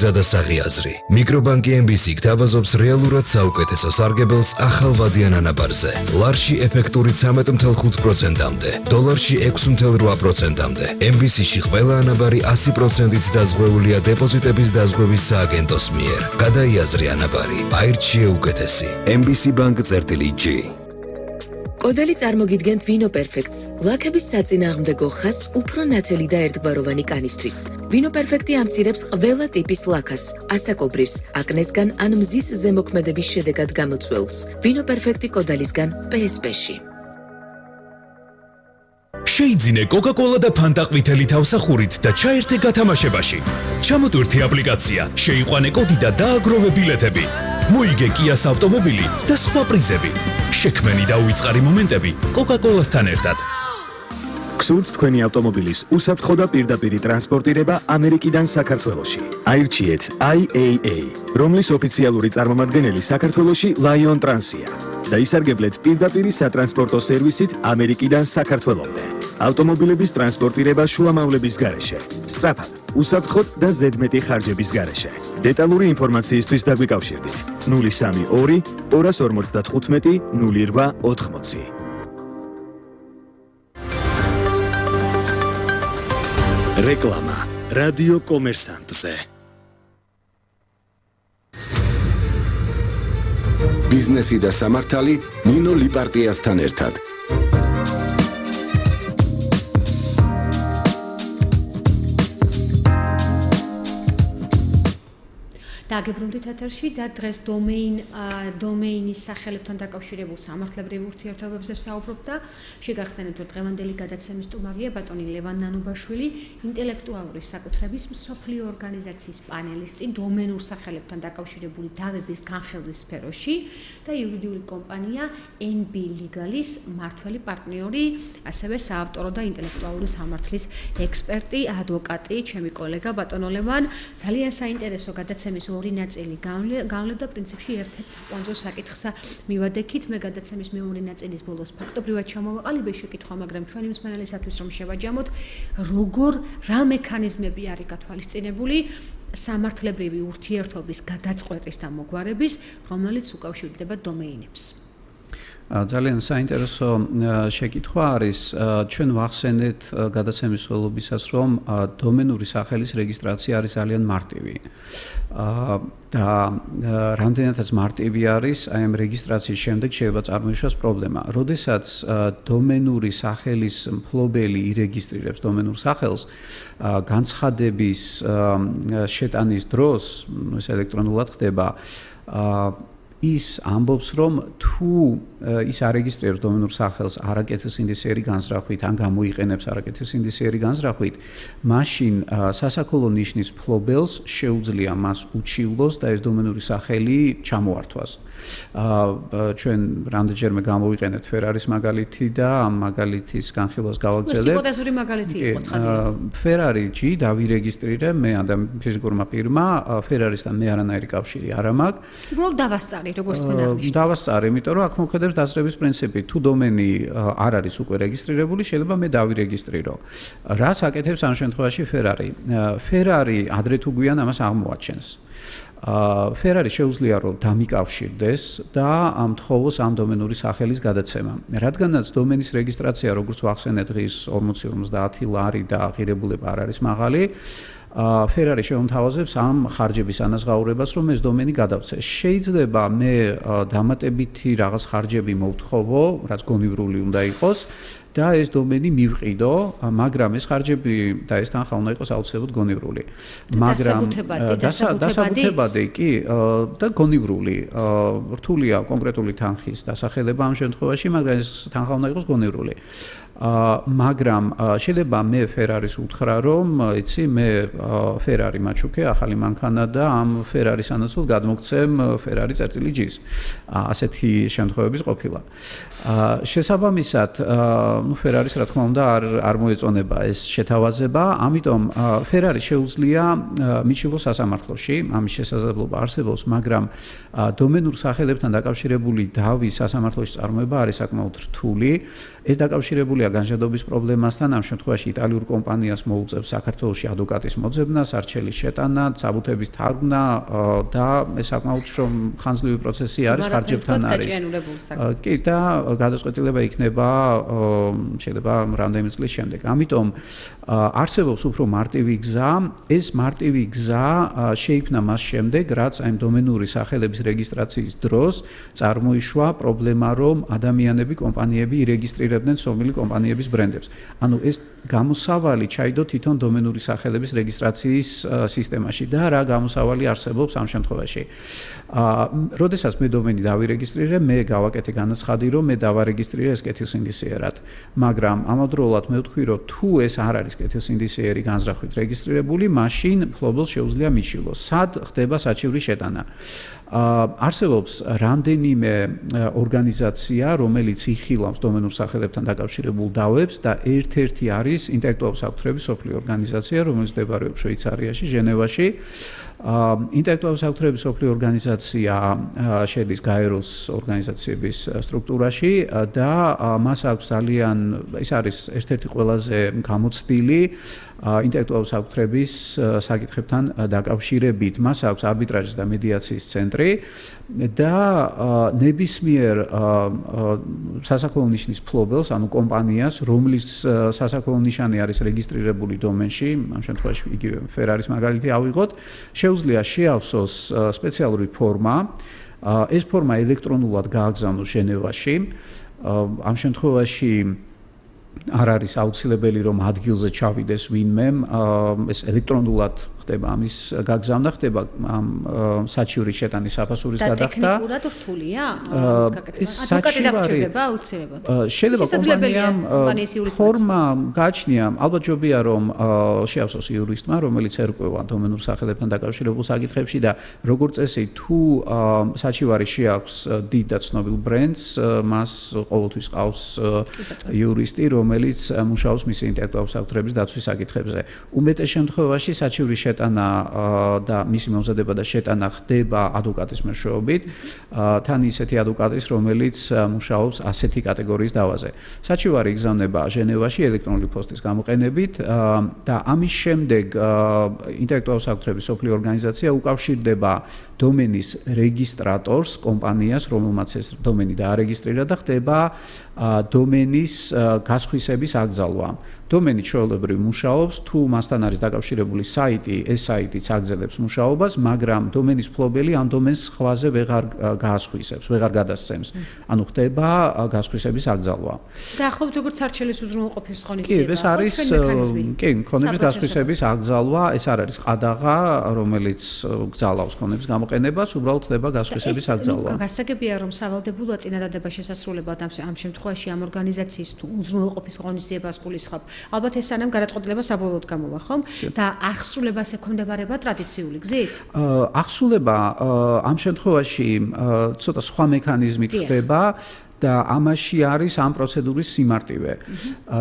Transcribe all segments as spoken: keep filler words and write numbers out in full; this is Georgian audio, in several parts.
გზა და საღიაზრი. მიკრობანკი ემ ბი სი გთავაზობს რეალურად საუკეთესო სარგებელს ახალვადიან ანაბარზე. ლარში ეფექტური ცამეტ ათი ხუთი პროცენტამდე, დოლარში ექვსი ათი პროცენტამდე. ემ ბი სი-ში ყველა ანაბარი ასი პროცენტით დაზღვეულია დეპოზიტების დაზღვევის სააგენტოს მიერ. გადაიაზრი ანაბარი, აირჩიე უკეთესი. ემ ბი სი Bank წერტილი ჯი. კოდელი წარმოგიდგენთ ვინო პერფექტს, ლაქების საწინააღმდეგო ხაზს უფრო ნათელი და ერთგვაროვანი კანისთვის. ვინო პერფექტი ამცირებს ყველა ტიპის ლაქას, ასაკობრივს, აკნესგან ან მზის ზემოქმედების შედეგად გამოწვეულს. ვინო პერფექტი კოდალისგან პე ეს პე-ში. შეიძინე კოკა-კოლა და ფანტა ყვითელი თავსახურით და ჩაერთე გათამაშებაში. ჩამოტვირთი აპლიკაცია, შეიყვანე კოდი და დააგროვე ბილეთები. მოიგე კიას ავტომობილი და სხვა პრიზები. შექმენი და უიწყარი მომენტები კოკა-კოლასთან ერთად. გსურთ თქვენი ავტომობილის უსაფრთხო და პირდაპირი ტრანსპორტირება ამერიკიდან საქართველოში. აირჩიეთ აი ეი ეი, რომლის ოფიციალური წარმომადგენელი საქართველოში Lion Trans-ია და ისარგებლეთ პირდაპირი სატრანსპორტო სერვისით ამერიკიდან საქართველომდე. ავტომობილების ტრანსპორტირება შუამავლების გარეშე, სწრაფად, უსაფრთხოდ და ზედმეტი ხარჯების გარეშე. დეტალური ინფორმაციისთვის დაგვიკავშირდით ნული სამი ორი ორას ორმოცდათხუთმეტი ნული რვა ოთხმოცი. რეკლამა რადიო კომერსანტზე. ბიზნესი და სამართალი ნინო ლიპარტიასთან ერთად. დაგებრუნდით ეთერში და დღეს დომეინ დომეინის სახელებთან დაკავშირებულ სამართლებრივ ურთიერთობებზე ვსაუბრობ და შეგახსენებთ, რომ დღევანდელი გადაცემის სტუმარია ბატონი ლევან ნანუბაშვილი, ინტელექტუალური საკუთრების მსოფლიო ორგანიზაციის პანელისტი დომენურ სახელებთან დაკავშირებული დავების განხილვის სფეროში და იურიდიული კომპანია ენ ბი Legal-ის მმართველი პარტნიორი, ასევე საავტორო და ინტელექტუალური სამართლის ექსპერტი, ადვოკატი, ჩემი კოლეგა ბატონო ლევან. ძალიან საინტერესო გადაცემის ორი ნაწილი განვლევ და პრინციპში ერთ-ერთ საკვანძო საკითხსა მივადექით. მე გადაცემის მეორე ნაწილის ბოლოს ფაქტობრივად ჩამოვაყალიბე შეკითხვა, მაგრამ ჩვენი მსმენელისათვის რომ შევაჯამოთ, როგორ რა მექანიზმები არის გათვალისწინებული სამართლებრივი ურთიერთობის გადაწყვეტის და მოგვარების, რომელიც უკავშირდება დომეინებს. ძალიან საინტერესო შეკითხვა არის. ჩვენ ვახსენეთ გადაცემის ველობისას, რომ დომენური სახელის რეგისტრაცია არის ძალიან მარტივი. და რამდენადაც მარტივი არის, აი ამ რეგისტრაციის შემდეგ შეიძლება წარმოიშვას პრობლემა. როდესაც დომენური სახელის მფლობელი ირეგისტრირებს დომენურ სახელს, განცხადების შეტანის დროს, ეს ელექტრონულად ხდება, ის ამბობს, რომ თუ ის არეგისტრირებს დომენურ სახელს არაკეთილ სინდისიერი განზრახვით ან გამოიყენებს არაკეთილ სინდისიერი განზრახვით, მაშინ სასაქოლო ნიშნის მფლობელს შეუძლია მას უჩივლოს და ეს დომენური სახელი ჩამოართვას. ჩვენ რამდენჯერმე გამოვიყენეთ ფერარის მაგალითი და ამ მაგალითის განხილვას გავაგრძელებ. ჰიპოთეზური მაგალითი იყო ცხადია. ფერარი ჯი დავირეგისტრირე მე ადამ ფიზიკურმა პირმა, ფერარისთან მე არანაირი კავშირი არ მაქვს. უბრალოდ დავასწარი, როგორც თქვენ აღნიშნეთ. დავასწარი, იმიტომ რომ აქ მოქმედებს დასწრების პრინციპი. თუ დომენი არ არის უკვე რეგისტრირებული, შეიძლება მე დავირეგისტრირო. რას აკეთებს ამ შემთხვევაში ფერარი? ფერარი ადრე თუ გვიან ამას აღმოაჩენს. ფერარი შეუძლია რომ დამიკავშირდეს და ამთხოვოს ამ დომენური სახელის გადაცემა. რადგანაც დომენის რეგისტრაცია, როგორც ვახსენეთ, დღის ორმოცი ორმოცდაათი ლარი და ღირებულება არ არის მაღალი, ფერარი შეუმთავაზებს ამ ხარჯების ანაზღაურებას, რომ ეს დომენი გადავცეს. შეიძლება მე დამატებითი რაღაც ხარჯები მოვთხოვო, რაც გონივრული უნდა იყოს. და ეს დომენი მივყიდო, მაგრამ ეს ხარჯები და ეს თანხა უნდა იყოს აუცილებლად გონივრული. მაგრამ დასაბუთებადი კი და გონივრული. რთულია კონკრეტული თანხის დასახელება ამ შემთხვევაში, მაგრამ ეს თანხა უნდა იყოს გონივრული. მაგრამ შეიძლება მე ფერარის უთხრა, რომ იცი მე ფერარი მაჩუქე, ახალი მანქანა და ამ ფერარის ანაცვლოდ გადმოგცემ ფერარი წერტილი ჯის. ასეთი შემთხვევების ყოფილა. შესაბამისად, ну ფერარის რა თქმა უნდა არ არ მოეწონება ეს შეთავაზება, ამიტომ ფერარი შეუძლია მიჩნევოს სასამართლოში, ამის შესაძლებლობა არსებობს, მაგრამ დომენურ სახელებთან დაკავშირებული დავის სასამართლოში წარმოება არის საკმაოდ რთული. ეს დაკავშირებულია განშადობის პრობლემასთან ამ შემთხვევაში იტალიურ კომპანიას მოუწევს საქართველოში ადვოკატის მოძებნა, სარჩელის შეტანა, საბუთების თარგმნა და ეს საკმაოდ ხანძლივი პროცესი არის, ხარჯებთან არის. კი და გადაწყვეტილება იქნება შეიძლება რამდენიმე წლის შემდეგ. ამიტომ არსებობს უფრო მარტივი გზა, ეს მარტივი გზა შეიქმნა მას შემდეგ, რაც აი დომენური სახელების რეგისტრაციის დროს წარმოიშვა პრობლემა, რომ ადამიანები, კომპანიები ირეგისტრირებდნენ სომილი კომპანიების ბრენდებს. ანუ ეს გამოსავალი ჩაიდო თვითონ დომენური სახელების რეგისტრაციის სისტემაში და რა გამოსავალი არსებობს ამ შემთხვევაში. აა, როდესაც მე დომენი დავირეგისტრირე, მე გავაკეთე განაცხადი, რომ მე დავარეგისტრირე ეს კეთილსინდისიერად. მაგრამ ამავდროულად მე ვთქვი, რომ თუ ეს არ არის კეთილსინდისიერი განზრახვით რეგისტრირებული, მაშინ მფლობელს შეუძლია მიშილოს. სად ხდება საჩივრის შეტანა? არსებობს რამდენიმე ორგანიზაცია, რომელიც იხილავს დომენურ სახელებთან დაკავშირებულ დავებს და ერთ-ერთი არის ინტელექტუალური საფრთხების სოფლიო ორგანიზაცია, რომელიც მდებარეობს შვეიცარიაში, ჟენევაში. ინტელექტუალური საფრთხების სოფლიო ორგანიზაცია შედის გაეროს ორგანიზაციების სტრუქტურაში და მას აქვს ძალიან ეს არის ერთ-ერთი ყველაზე გამოცდილი ინტელექტუალური საფრთხების საკითხებთან დაკავშირებით. მას აქვს არბიტრაჟის და მედიაციის ცენტრი და ნებისმიერ სასაქონლო ნიშნის მფლობელს, ანუ კომპანიას, რომლის სასაქონლო ნიშანი არის რეგისტრირებული დომენში, ამ შემთხვევაში იგივე ფერარის მაგალითი ავიღოთ, შეუძლია შეავსოს სპეციალური ფორმა. ეს ფორმა ელექტრონულად გააგზავნოს ჟენევაში. ამ შემთხვევაში არ არის აუცილებელი რომ ადგილზე ჩავიდეს ვინმე, ეს ელექტრონულად ხდება ამის გაგზავნა, ხდება ამ საჩივრის შეტანის საფასურის გადახდა. და ტექნიკურად რთულია ამის გაკეთება. ადვოკატი დაგჭირდება აუცილებლად. შეიძლება კომპანიამ ფორმა გააჩნია, ალბათ ჯობია რომ შეავსოს იურისტმა, რომელიც ერკვევა დომენურ სახელებთან დაკავშირებულ საკითხებში და როგორც წესი თუ საჩივარი შეაქვს დიდ და ცნობილ ბრენდს, მას ყოველთვის ყავს იურისტი, რომელიც მუშაობს მისი ინტელექტუალური საფრთხების დაცვის საკითხებზე. უმეტეს შემთხვევაში საჩივრის შეტანა და მისი მომზადება და შეტანა ხდება ადვოკატის მეშვეობით, თან ისეთი ადვოკატის, რომელიც მუშაობს ასეთი კატეგორიის დავაზე. საჩივარი იგზავნება ჟენევაში ელექტრონული პოსტის გამოყენებით და ამის შემდეგ ინტელექტუალური საფრთხების სოფლიო ორგანიზაცია უკავშირდება დომენის რეგისტრატორს, კომპანიას, რომელმაც ეს დომენი დაარეგისტრირა და ხდება დომენის გასხვისების აკრძალვა. დომენი ჩვეულებრივ მუშაობს, თუ მასთან არის დაკავშირებული საიტი, ეს საიტიც აგრძელებს მუშაობას, მაგრამ დომენის მფლობელი ამ დომენს სხვაზე ვეღარ გაასხვისებს, ვეღარ გადასცემს. ანუ ხდება გასხვისების აკრძალვა. და ახლობთ როგორც სარჩელის უზრუნველყოფის ღონისძიება. კი, ეს არის კი, ქონების გასხვისების აკრძალვა, ეს არ არის ყადაღა, რომელიც გძალავს ქონების გამოყენებას, უბრალოდ ხდება გასხვისების აკრძალვა. გასაგებია, რომ სავალდებულო წინადადება შესასრულებლად ამ შემთხვევაში ამ ორგანიზაციის თუ უზრუნველყოფის ღონისძიებას გულისხმობ. ალბათ ეს სანამ გადაწყვეტილება საბოლოოდ გამოვა, ხომ? და აღსრულებას ექვემდებარება ტრადიციული გზით? აღსრულება ამ შემთხვევაში ცოტა სხვა მექანიზმით ხდება. და ამაში არის ამ პროცედურის სიმარტივე.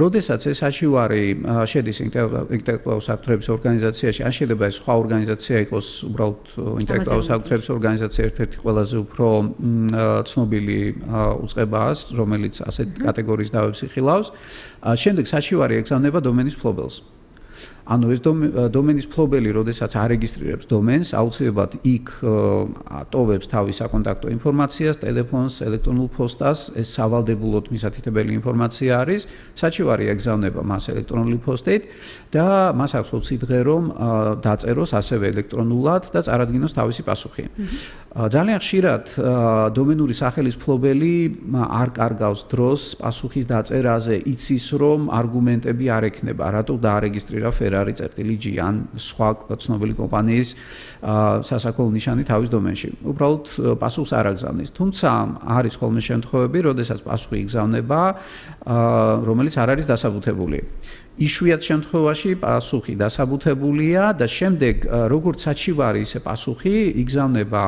როდესაც ეს საჩივარი შედის ინტელექტუალური საფრთხების ორგანიზაციაში, ან შეიძლება ეს სხვა ორგანიზაცია იყოს, უბრალოდ ინტელექტუალური საფრთხების ორგანიზაცია ერთ-ერთი ყველაზე უფრო ცნობილი უწყებაა, რომელიც ასეთ კატეგორიის დავებს იხილავს. შემდეგ საჩივარი ეგზავნება დომენის მფლობელს. ანუ ეს დომენის მფლობელი, როდესაც არეგისტრირებს დომენს, აუცილებლად იქ ტოვებს თავის საკონტაქტო ინფორმაციას, ტელეფონს, ელექტრონულ პოსტას, ეს სავალდებულოდ მისათითებელი ინფორმაცია არის. საჩივარი ეგზავნება მას ელექტრონული პოსტით და მას აქვს ოცი დღე რომ დაწეროს ასევე ელექტრონულად და წარადგინოს თავისი პასუხი. ძალიან ხშირად დომენური სახელის მფლობელი არ კარგავს დროს პასუხის დაწერაზე, იცის რომ არგუმენტები არ ექნება, რატო დაარეგისტრირა ფერარი, წერტილი ჯი ან სხვა ცნობილი კომპანიის სასაქონლო ნიშანი თავის დომენში. უბრალოდ პასუხს არ აგზავნის. თუმცა არის ხოლმე შემთხვევები, როდესაც პასუხი იგზავნება, რომელიც არ არის დასაბუთებული. იშვიათ შემთხვევაში პასუხი დასაბუთებულია და შემდეგ როგორც საჩივარი ისე პასუხი იგზავნება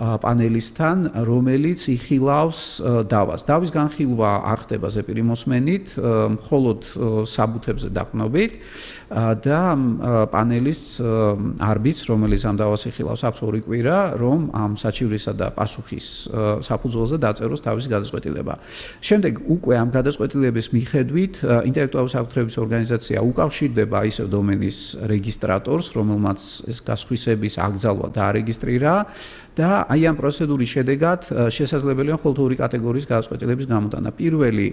პანელისთან, რომელიც იხილავს დავას. დავის განხილვა არ ხდება ზეპირი მოსმენით, მხოლოდ საბუთებზე დაყრდნობით და პანელის არბიტრს, რომელიც ამ დავას იხილავს, აქვს ორი კვირა, რომ ამ საჩივრისა და პასუხის საფუძველზე დაწეროს თავისი გადაწყვეტილება. შემდეგ უკვე ამ გადაწყვეტილების მიხედვით ინტელექტუალური საფუძვლების ორგანიზაცია უკავშირდება ისევ დომენის რეგისტრატორს, რომელმაც ეს გასხვისების აკრძალვა დაარეგისტრირა და აი ამ პროცედურის შედეგად შესაძლებელია მხოლოდ ორი კატეგორიის გადაწყვეტილების გამოტანა. პირველი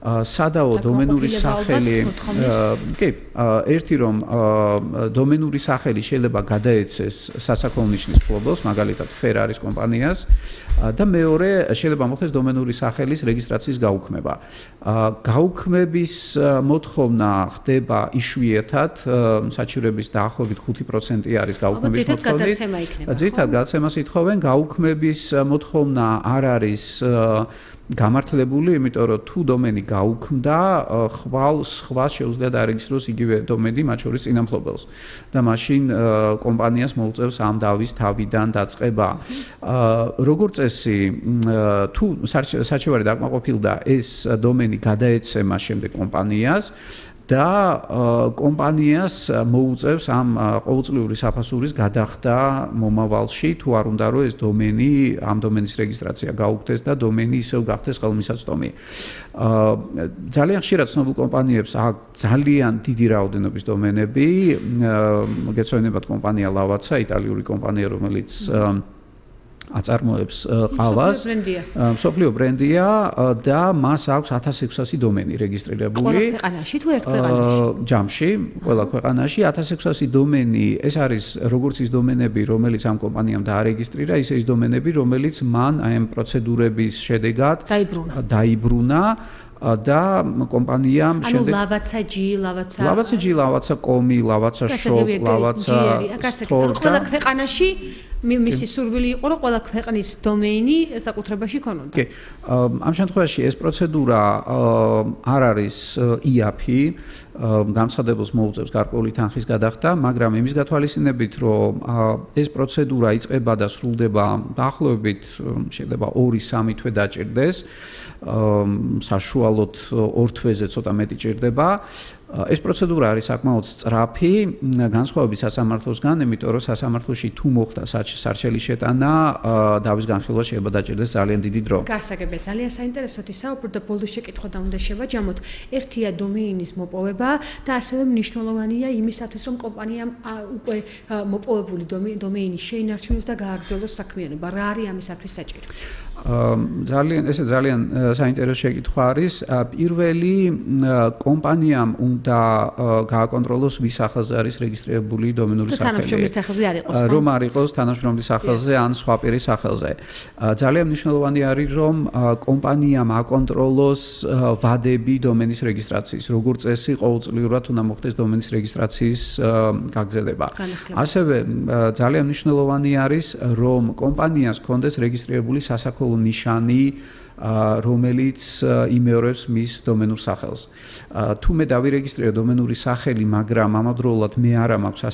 სადაო დომენური სახელი, კი, ერთი რომ დომენური სახელი შეიძლება გადაეცეს სასაქონლო ნიშნის მფლობელს, მაგალითად Ferrari-s კომპანიას და მეორე შეიძლება მოხდეს დომენური სახელის რეგისტრაციის გაუქმება. გაუქმების მოთხოვნა ხდება იშვიათად, საჩივრების დაახლოებით ხუთი პროცენტი არის გაუქმების მოთხოვნა. ძირითადად გადაცემას ითხოვენ, გაუქმების მოთხოვნა არ არის გამართლებული, იმიტომ რომ თუ დომენი გაუქმდა, ხვალ სხვა შეუძლია დაარეგისტროს იგივე დომენი, მათ შორის წინამფლობელს და მაშინ კომპანიას მოუწევს ამ დავის თავიდან დაწყება. როგორც წესი, თუ საჩივარი დაკმაყოფილდა, ეს დომენი გადაეცემა შემდეგ კომპანიას და კომპანიას მოუწევს ამ ყოველწლიური საფასურის გადახდა მომავალში, თუ არ უნდა რომ ეს დომენი, ამ დომენის რეგისტრაცია გაუქმდეს და დომენი ისევ გახდეს ხელმისაწვდომი. ძალიან ხშირად ცნობილ კომპანიებს აქვს ძალიან დიდი რაოდენობის დომენები, გეცვენებათ კომპანია Lavazza, იტალიური კომპანია, რომელიც აწარმოებს ყავას, მსოფლიო ბრენდია და მას აქვს ათას ექვსასი დომენი რეგისტრირებული. ყველა ქვეყანაში თუ ერთ ქვეყანაში? ჯამში, ყველა ქვეყანაში ათას ექვსასი დომენი, ეს არის როგორც ის დომენები, რომელიც ამ კომპანიამ დაარეგისტრირა, ისე ის დომენები, რომელიც მან აი ამ პროცედურების შედეგად დაიბრუნა და კომპანიამ შემდეგ ანუ Lavazza G, Lavazza Lavazza G, Lavazza com-i, Lavazza shop, Lavazza store ყველა ქვეყანაში მისი სურვილი იყო, რომ ყველა ქვეყნის დომენი საკუთრებაში ქონოდა. კი. ამ შემთხვევაში ეს პროცედურა არ არის ი эй პი, გამცხადებელს მოუწევს გარკვეული თანხის გადახდა, მაგრამ იმის გათვალისწინებით, რომ ეს პროცედურა იწყება და სრულდება დაახლოებით შეიძლება ორი სამი თვე დაჭირდეს, საშუალოდ ორ თვეზე ცოტა მეტი ჭირდება. ეს პროცედურა არის საკმაოდ სწრაფი, განსხვავებით სასამართლოსგან, იმიტომ რომ სასამართლოში თუ მოხდა სარჩელი შეტანა, დავის განხილვა შეიძლება დაჭირდეს ძალიან დიდი დრო. გასაგებია, ძალიან საინტერესოა საუბრობ და ბოლოს შეკითხვა და უნდა შევაჯამოთ. ერთია დომეინის მოპოვება და ასევე მნიშვნელოვანია იმისათვის, რომ კომპანიამ უკვე მოპოვებული დომეინის შეინარჩუნოს და გააგრძელოს საქმიანობა. რა არის ამისათვის საჭირო? ძალიან ესე ძალიან საინტერესო შეკითხვა არის. პირველი კომპანიამ უნდა გააკონტროლოს ვის სახელზე არის რეგისტრირებული დომენური სახელი. თანამშრომლის სახელზე არ იყოს. რომ არ იყოს თანამშრომლის სახელზე ან სხვა პირის სახელზე. ძალიან მნიშვნელოვანი არის რომ კომპანიამ აკონტროლოს ვადები დომენის რეგისტრაციის. როგორც წესი, ყოველწლიურად უნდა მოხდეს დომენის რეგისტრაციის გაგრძელება. ასევე ძალიან მნიშვნელოვანი არის რომ კომპანიას ჰქონდეს რეგისტრირებული სასაქონლო ნიშანი, რომელიც იმეორებს მის დომენურ სახელს. თუ მე დავირეგისტრირე დომენური სახელი, მაგრამ ამავდროულად მე არა მაქვს